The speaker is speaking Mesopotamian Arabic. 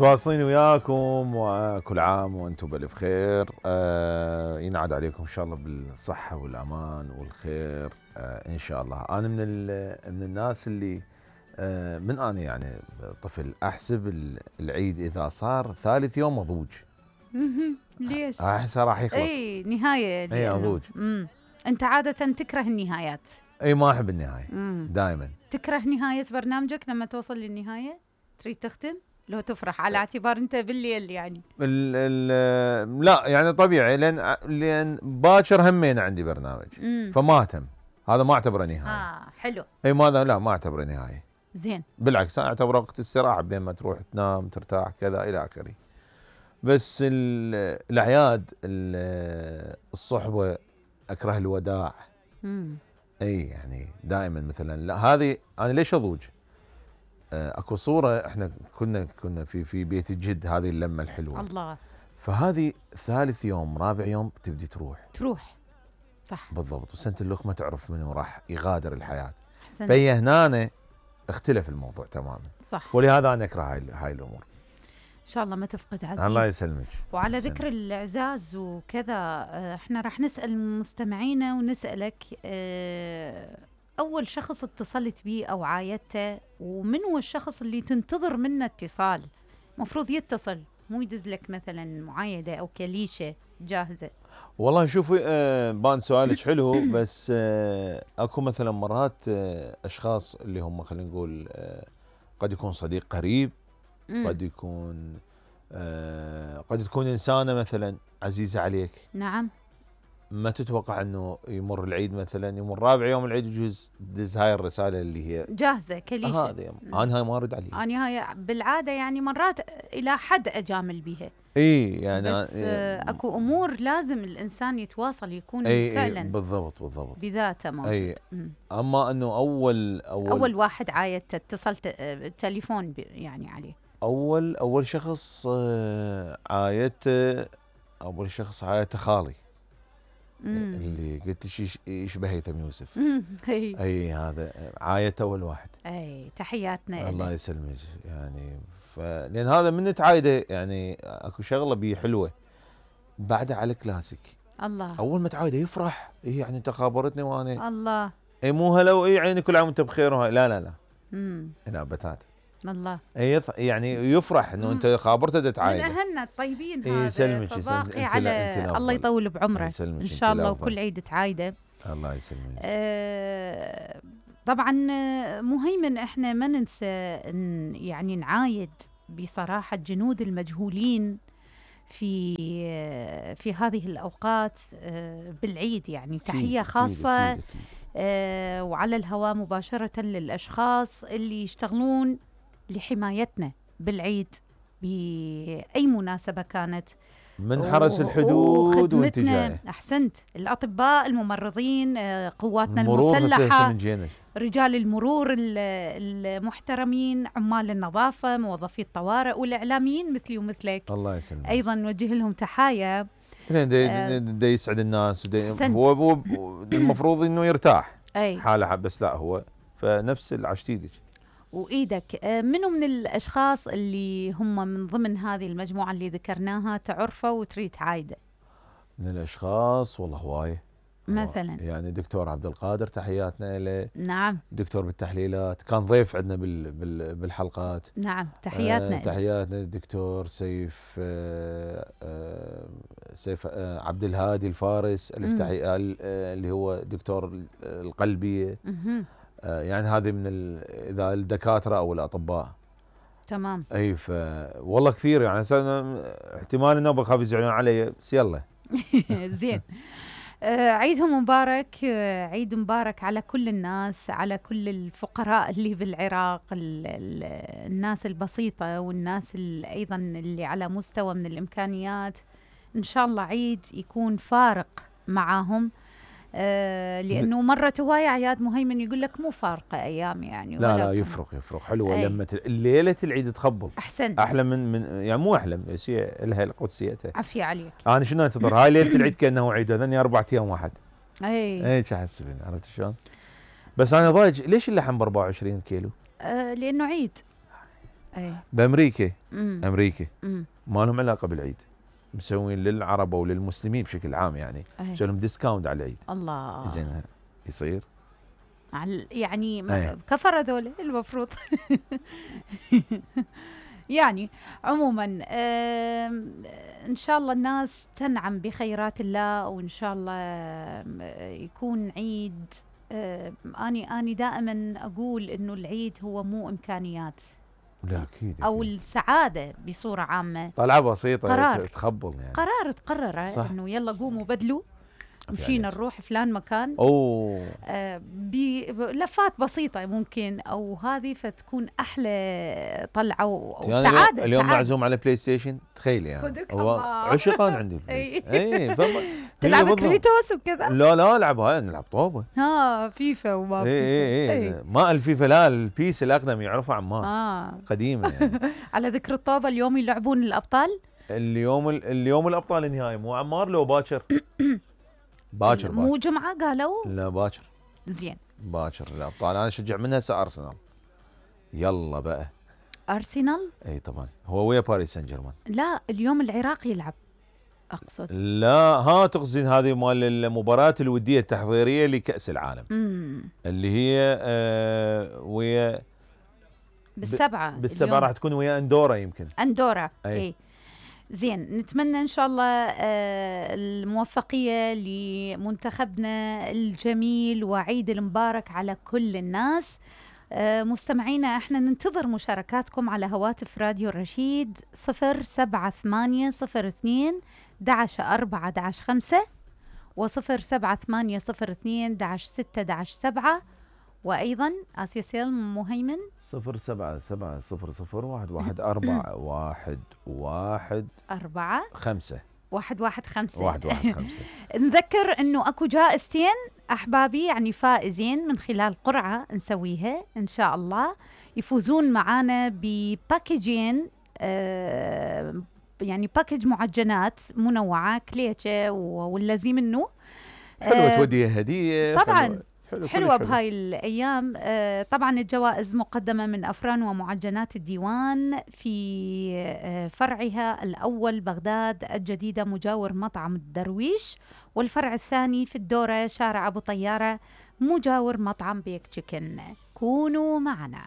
متواصلين وياكم، وكل عام وانتم بالف خير. ينعاد عليكم ان شاء الله بالصحه والامان والخير ان شاء الله. انا من الناس اللي من انا يعني طفل احسب العيد اذا صار ثالث يوم اضوج. ليش؟ احسه راح يخلص. اي نهايه. اي اضوج. انت عاده تكره النهايات. اي ما احب النهايه. دائما تكره نهايه برنامجك لما توصل للنهايه تريد تختم؟ لو تفرح على اعتبار انت بالليل يعني. لا يعني طبيعي لان باكر همين عندي برنامج. فما اهتم، هذا ما اعتبره نهايه. حلو. اي ماذا لا ما اعتبره نهايه. زين. بالعكس انا اعتبره وقت استراحه بين ما تروح تنام ترتاح كذا الى اخره. بس الاعياد الصحبه اكره الوداع. اي يعني دائما مثلا لا هذه انا ليش اضوج؟ اكو صوره احنا كنا في بيت الجد، هذه اللمه الحلوه. الله. فهذه ثالث يوم رابع يوم تبدي تروح. صح بالضبط. وسنه الاخ ما تعرف منو راح يغادر الحياه. احسنت. فهي هنا اختلف الموضوع تماما. صح. ولهذا انا اكره هاي الامور. ان شاء الله ما تفقد عزيز. الله يسلمك. وعلى ذكر الاعزاز وكذا، احنا راح نسال مستمعينا ونسالك اول شخص اتصلت به او عايدته، ومن هو الشخص اللي تنتظر منه اتصال؟ مفروض يتصل مو يدز لك مثلا معايده او كليشه جاهزه. والله شوفي بان سؤالك حلو. بس اكو مثلا مرات اشخاص اللي هم خلينا نقول قد يكون صديق قريب، قد تكون انسانه مثلا عزيزه عليك. نعم. ما تتوقع انه يمر العيد مثلا، يمر رابع يوم العيد يجوز تدز هاي الرساله اللي هي جاهزه كليشه. هذه انا هاي ما ارد عليها. انا هاي بالعاده يعني مرات الى حد اجامل بها. اي يعني بس اكو امور لازم الانسان يتواصل يكون فعلا بالضبط بذاته موجود. اما انه اول واحد عايدته اتصلت تليفون يعني عليه. اول شخص عايدته خالي. اللي قلت يشبه هيثم يوسف. اي هذا عايته اول واحد. اي تحياتنا. الله يسلمك يعني. لان هذا من نتعايده يعني اكو شغله بيه حلوه بعدها على كلاسيك. الله. اول ما تعايده يفرح. يعني انت خابرتني وانا الله. اي مو هلا واي عيني كل عام وانت بخير وهاي. لا هنا بتات. الله. يعني يفرح انه انت خابرته تتعايده. من اهلنا الطيبين هذا. فباقي على الله يطول بعمره ان شاء الله، وكل عيد تعايده. الله يسلمك. طبعا مهيمن احنا ما ننسى يعني نعايد بصراحه الجنود المجهولين في هذه الاوقات بالعيد. يعني تحيه خاصه أكيد. وعلى الهواء مباشره للاشخاص اللي يشتغلون لحمايتنا بالعيد بأي مناسبة كانت، من حرس الحدود وانتجاهه. أحسنت. الأطباء، الممرضين، قواتنا المسلحة، رجال المرور المحترمين، عمال النظافة، موظفي الطوارئ، والإعلاميين مثلي ومثلك. الله يسلمك. أيضا نوجه لهم تحايا. دا يسعد الناس. هو المفروض إنه يرتاح حاله، بس لا هو فنفس العشتيدك وإيدك. منو من الأشخاص اللي هم من ضمن هذه المجموعة اللي ذكرناها تعرفه وتريد تعايده؟ من الأشخاص والله هواية. مثلا يعني دكتور عبد القادر تحياتنا له. نعم. دكتور بالتحليلات، كان ضيف عندنا بالحلقات. نعم تحياتنا. تحياتنا الدكتور سيف عبد الهادي الفارس اللي هو دكتور القلبية. يعني هذه من اذا الدكاتره او الاطباء. تمام. اي والله كثير يعني احتمال انه بخاف يزعلون علي، بس يلا. زين. عيدهم مبارك. عيد مبارك على كل الناس، على كل الفقراء اللي بالعراق، الناس البسيطه والناس ايضا اللي على مستوى من الامكانيات. ان شاء الله عيد يكون فارق معاهم. لانه مرت هوايه اعياد مهيمن يقول لك مو فارقه ايام يعني. لا يفرق حلوه لما ليله العيد تخبل. احسنت. احلى من يعني مو احلى، بس هي لها قدسيتها. عافيه عليك. انا شنو انتظر هاي ليله العيد كانه عيد، هذني 4 ايام واحد. اي شو احسب، عرفت شلون؟ بس انا ضايج ليش اللحم ب 24 كيلو؟ لانه عيد. بامريكا امريكا ما لهم علاقه بالعيد، مسوين للعرب او للمسلمين بشكل عام يعني مسوين لهم ديسكاونت على العيد. الله زين يصير يعني كفر هذول المفروض. يعني عموما ان شاء الله الناس تنعم بخيرات الله، وان شاء الله يكون عيد. اني دائما اقول انه العيد هو مو امكانيات، لا اكيد او السعاده بصوره عامه طلعه بسيطه قرار تخبل يعني قرار تقرره انه يلا قوموا بدلوا مشينا نروح فلان مكان بلفات بسيطة ممكن، أو هذه فتكون أحلى طلعة وسعادة. اليوم معزوم على بلاي ستيشن، تخيل يعني صدق الله عشقان عندي البلاي تلعب كريتوس وكذا؟ لا ألعب هاي، نلعب طوبة فيفا وما فيفا. ما الفيفا، لا البيس الأقدم يعرفه عمار قديمة يعني. على ذكر الطوبة، اليوم يلعبون الأبطال. اليوم الأبطال النهائي مو عمار لو باكر؟ باكر مو جمعة قالوا؟ لا باكر. زين باكر الابطال، انا اشجع منها هسه ارسنال. يلا بقى ارسنال؟ اي طبعا، هو ويا باريس سان جيرمان. لا اليوم العراق يلعب اقصد. لا تقصدين هذه مال المباراه الوديه التحضيريه لكاس العالم اللي هي ويا بالسبعه راح تكون ويا اندورا، يمكن اندورا. اي زين، نتمنى ان شاء الله الموفقيه لمنتخبنا الجميل وعيد المبارك على كل الناس. مستمعينا، احنا ننتظر مشاركاتكم على هواتف راديو الرشيد 07802 11 4-5 و07802 6-7 وأيضا آسيا سيل مهيمن 077-001-115 نذكر انه اكو جائزتين احبابي، يعني فائزين من خلال قرعة نسويها ان شاء الله، يفوزون معانا بباكجين، يعني باكج معجنات منوعة كليتشة واللازم منه. حلوة توديها هدية طبعا حلوة بهاي الأيام. طبعا الجوائز مقدمة من أفران ومعجنات الديوان في فرعها الأول بغداد الجديدة مجاور مطعم الدرويش، والفرع الثاني في الدورة شارع أبو طيارة مجاور مطعم بيك تشيكن. كونوا معنا.